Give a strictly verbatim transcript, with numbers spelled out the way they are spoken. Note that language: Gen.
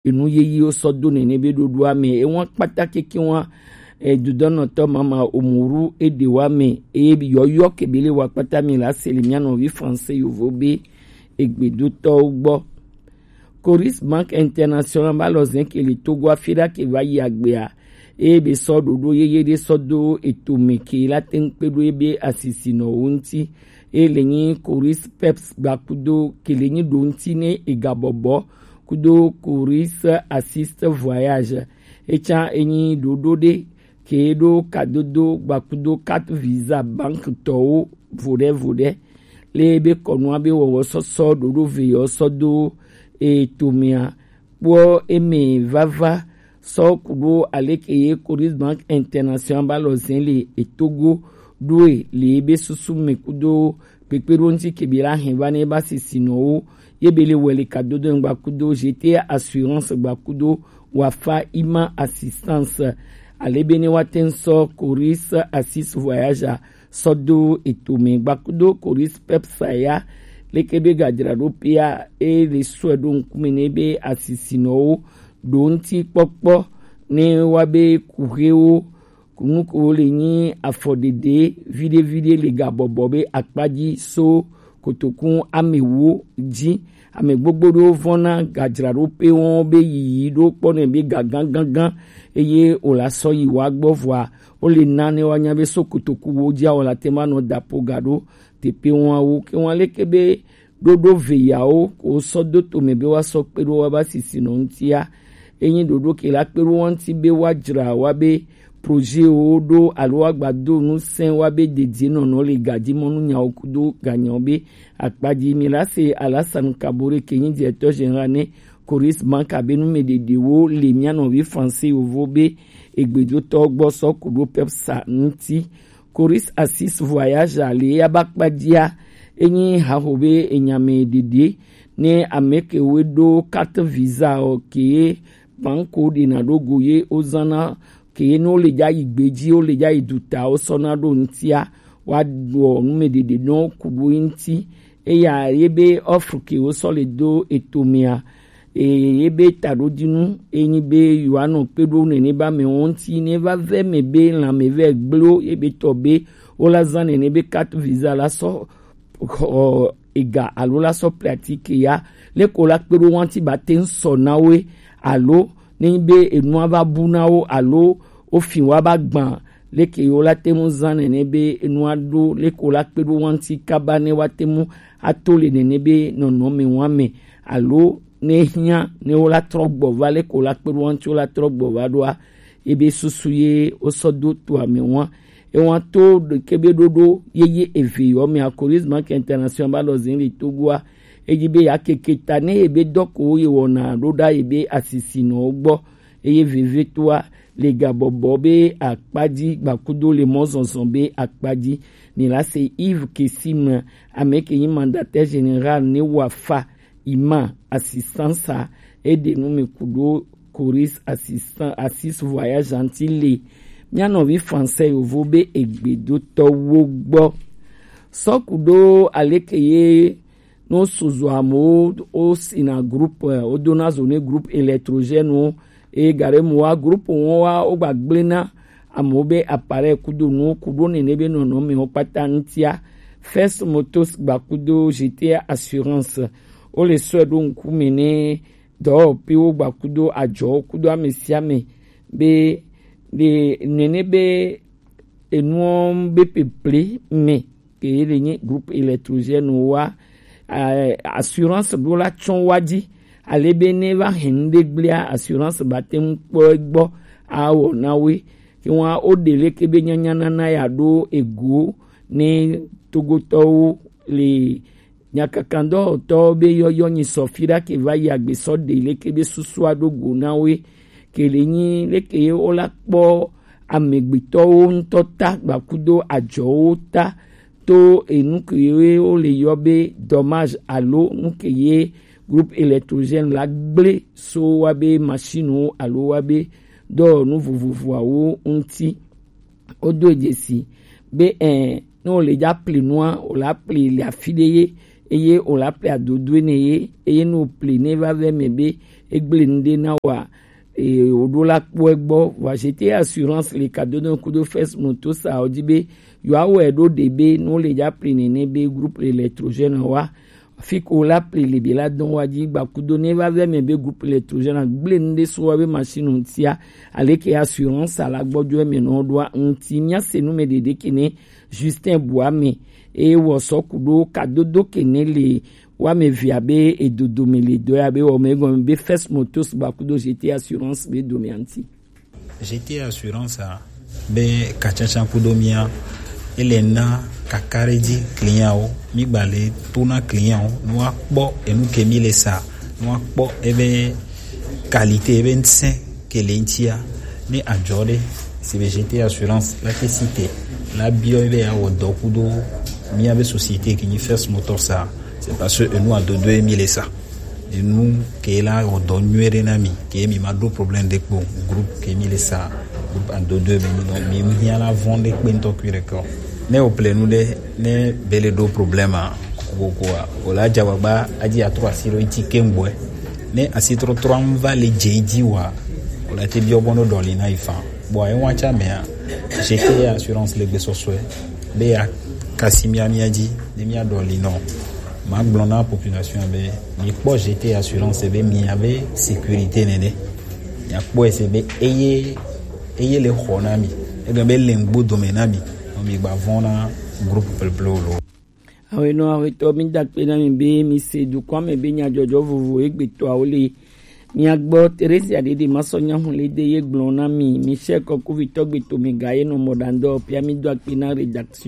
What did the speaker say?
enu yeyewo sɔ do nene be ɖoɖoa me. Ewa kpata keke wa, e, dudɔnɔtɔ mama omuru ede wa me, eye yɔyɔ kebele wa kpata mi la seli mia nɔvi français yovo be egbedotɔwo gbɔ. Coris Bank International ba lɔ zɛn ke le Togo afi ɖa ke va yi agbea, eye be sɔ ɖoɖo yeye ɖe sɔ do eto me ke la teŋ kpe ɖo ebe asisinɔwo ŋuti. Eye le nyi Coris Peps gbakudo ke le nyi ɖo ŋuti ne ega bɔbɔ kudo Coris Assist Voyage. Etsa enyi ɖoɖo ɖe ke ɖo kadodo gbakudo carte visa bank tɔwo voɖe voɖe. Le be kɔnua be wɔwɔ sɔsɔ ɖoɖo ve yɔ sɔ do eto mea kpɔ eme vava sɔ kuɖo aleke ye Coris Bank International ba lɔ zɛn le etogo ɖoe le ebe susu me kudo kpekpeɖo ŋuti ke be la hɛn va ne ba sisinɔwo ye be le wɛli kadodo ŋgba kudo G T A Assurance gba kudo Wafa Ima Assistance. Ale be ne wa teŋ sɔ Coris Assist Voyage sɔ do eto me gba kudo Coris Peps ya leke be gadzraɖo pea e le sɔe ɖo ŋkume ne be asisinɔwo ɖo ŋuti kpɔkpɔ ne wa be kuxewo nukuwo le nyi afɔɖeɖe viɖe viɖe le gabɔbɔ be akpadzi so kotokun amewo dzi. Ame gbogbo ɖewo vɔna gadzraɖoƒe wɔn be yiyi ɖo kpɔ nɛ be gagã gãgã eye wòla sɔ yi wa gbɔ vɔa wole nane wa nya be so kotoku wo dzi awɔ la te ma nɔ dapo ga ɖo teƒe wɔn awo ke wɔn leke be ɖoɖo veyawo ko sɔ do tome be woasɔ kpe ɖo woaba sisinɔ ŋutia. Enyi ɖoɖo ke la kpe ɖo wo ŋuti be woadzra woabe projetwo ɖo alo woagbado ŋusẽ woabe dedienɔnɔ le gadimɔnunyawo kudo ganyawo be akpa dzi. Mi la se Alassane Kabore ke nyi directeur général ne Coris Bank abe numeɖeɖewo le mía nɔvi français yovo be egbedotɔ gbɔ sɔ ku ɖo pepsa ŋuti. Coris Assis Voyage ale ya ba kpadzia enyi haho be enyame ɖeɖe ne ame ke we ɖo carte visa o ke banko ɖena ɖo go ye wozãna ke ne wole dza yi gbe dzi, wole dza yi duta, wosɔna ɖo ŋutia, woaɖɔ numeɖeɖe nɔ ku ɖo ŋuti. Eya ye be offre ke wosɔ le do etomea, eye ye be taɖodinu enyi be yewoanɔ kpe ɖo nene be amewo ŋuti ne va ve me be lãme vɛ gblo ye be tɔ be wola zã nene be carte visa la sɔ xɔ ega alo la sɔ pratique ya leko la kpe ɖo wo ŋuti ba te ŋu sɔ na wo alo ne nyi be enua va bu na wo alo wofi wa ba gbã leke yewo la te ŋu zã nene be enua ɖo leko la kpe ɖo wo ŋuti kaba ne woate ŋu ato le nene be nɔnɔme wa me alo ne hiã ne wo la trɔ gbɔ va leko la kpe ɖo wo ŋuti wo la trɔ gbɔ va ɖoa ebe susu ye wosɔ do to ame wa. Ewa to ɖeke be ɖoɖo yeye eve yɔ me Coris Bank International ba lɔ zin le Togoa. Eyi be ya keke ta ne ebe dɔ ko ye wɔna ɖo ɖa ebe asisinɔwo gbɔ. Eye vevetoa le gabɔbɔ be akpadzi gbakudo le mɔzɔzɔ be akpadzi. Mi la se Yves Kessim ame ke nyi mandataire général ne Wafa Ima Assistance a eɖe nu mi ku ɖo Coris Assistant Assis Voyage ŋuti le mía nɔvi français yovo be egbedotɔwo gbɔ. Sɔ ku ɖo aleke ye no suzu amewo wosina groupe wodona zo ne groupe électrogène wo eye gaɖe mu wa groupe wo wa wogba gblẽ na amewo be appareil kudo nuwo ku ɖo nene be nɔnɔmewo kpata ŋutia. First Motors gba kudo G T A Assurance wole sɔe ɖo ŋkume ne dɔwɔƒewo gba kudo adzɔwo kudo ame sia ame be ɖe nene be enuwo be peple me ke ye le nye groupe électrogène wa eh, assurance ɖo la tsɔ wa dzi ale be ne va hɛn ɖe gblea assurance ba te ŋu kpɔ egbɔ awɔ na woe ke wa o ɖe leke be nyanya nana ya ɖo ego ne togotɔwo le nyakakandɔwɔtɔwo be yɔyɔ nyi sɔ fi ɖa ke va yi agbe sɔ ɖe leke be susua ɖo go na woe ke le nyi leke ye wo la kpɔ amegbetɔwo ŋutɔ ta gbakudo adzɔwo ta to enu ke ye wo le yɔ be dommage alo nu ke ye groupe électrogène la gblẽ so wa be machine wo alo wa be dɔwɔnu vovovoawo ŋuti. Wodo dzesi be ɛ ne wòle dza pli nua wòla pli le afi ɖe ye eye wòla pli adodoe ne ye eye ne wòpli ne va ve me be Egble nu ɖe na wa. E, woɖo la kpɔe gbɔ. Vɔ G T Assurance le kadodo kudo First Moto sa wodi be yewoawɔe ɖo ɖe be ne wole dza pli nene be groupe électrogène wa. Fi ko la pli le be la dɔn wa dzi gba kudo ne va vɛ mɛ be groupe électrogène gble nu ɖe so wa be machine ŋutia. Aleke assurance ala gbɔdzɔ mɛ nɔ ɖoa ŋuti mía se nu mɛ ɖeɖe kene Justin Boame. Eye wɔ sɔ kudo kadodo kene le wa mɛ via be edodo mɛ le dɔ ya be wɔ mɛ gɔme be First Motos gba kudo G T Assurance be do mɛ anti. G T Assurance a be katsantsan kudo mía ele na kakaɖedzi client wo, mi gba le to na client wo, ne woakpɔ enu ke mi le sa, ne woakpɔ ebe qualité, ebe ŋusẽ ke le ŋutia, ne adzɔ ɖe si be G T Assurance la ke si te la biɔ ebe ya wɔ dɔ kudo mía be société ke nyi First Motor sa, c'est parce que enu adodo ye mi le sa. Enu ke la wɔ dɔ nyuie ɖe na mi, ke mi ma ɖo problème ɖe kpo, groupe ke mi le sa, groupe adodo be mi nɔ, mi hiã la vɔn ɖe kpe ŋutɔ kui ɖe kɔ. Ne o ple nu ɖe, ne be le ɖo problème a, kokoko a, o la dza gbagba adzi atrɔ asi ɖo iti ke ŋgbɔe. Ne asi trɔtrɔ ŋu va le dze dzi wa, o la te biɔ bɔ no ɖɔli na yi fan. Bon, ayi wan tsa mea, G T Assurance le gbesɔsɔe be ya kasi mía mía dzi ne mía ɖɔli nɔ. Ma gblɔ na population be mi kpɔ G T Assurance be mi ave sécurité nene. Mia kpɔ ese be eye eye le xɔ na mi. Ege be le ŋgbo dome na mi. Nɔ mi gba vɔn na groupe pleple o lo. Awenɔ awetɔ mi da kpe na mi be mi se dukɔa me be nyadzɔdzɔ vovo egbetɔawo le. Mia gbɔ Teresia ɖeɖe ma sɔ nyahu le de ye gblɔ na mi. Michel Kɔkuvitɔ gbeto mi ga ye nɔ mɔ ɖandɔ pia mi do akpe na rédaction.